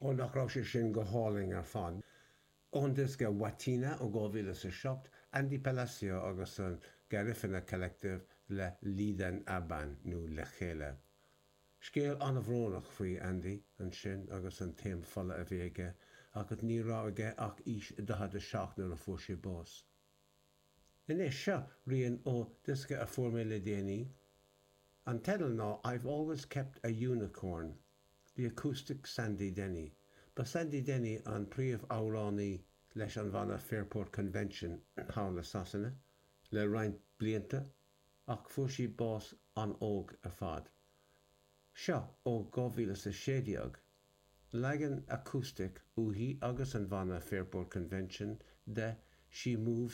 Ó nach raibh sé sin go hálainn ar fad. Ón diosca Watina ó 2007, Andy Palacio agus an Garifuna Collective le Lidan Aban, nó Le Chéile. Scéal an-bhrónach faoi Andy ansin agus an taom fola a bhí aige agus ní raibh aige ach aois 47 nuair a fuair sé bás. Anois, seo rian ó diosca a fuair mé le déanaí. An teideal ná I've Always Kept a Unicorn. The Acoustic Sandy Denny. Ba Sandy Denny an príomh-amhránaí leis an bhanna Fairport Convention thall i Sasana le roinnt blianta ach fuair sí bás an-óg ar fad. Seo ó 2016, leagan acoustic uaithi agus an bhanna Fairport Convention de She Moves.